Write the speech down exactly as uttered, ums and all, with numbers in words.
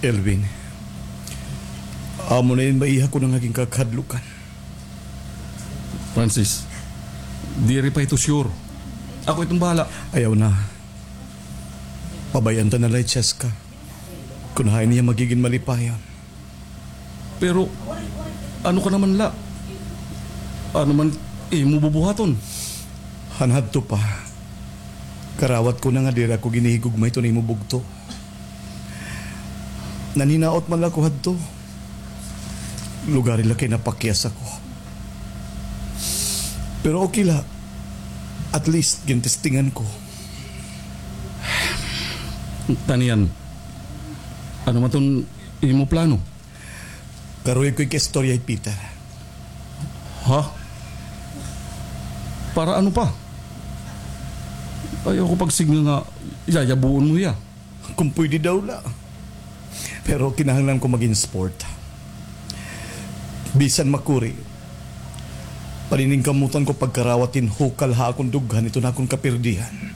Elvin, amo na ini maiha ko na nga ginkakahadlukan. Francis, diri pa ito sure. Ako itong bahala. Ayaw na. Pabay-an ta na la hi Cheska. Kun hain hiya magigin malipayon. Pero, ano ka naman la? Ano man imo bubuhaton? Han hadto pa. Karawat ko na nga diri ako ginhihigugma hiton imo bugto. Nanhinaot man la ako hadto. Lugari la kay napakyas ako. Pero okay la. At least, gintestingan ko. Tanian, ano man ton imo plano? Karuyag ko ikaistorya hi Peter. Ha? Para ano pa? Ayaw ko pagsidnga nga yayabuon mo hiya. Kung pwede daw la. Pero kinahanglan ko magin sport. Bisan makuri, paniningkamutan ko pagkarawat hin hukal ha akon dughan iton akon kapirdihan.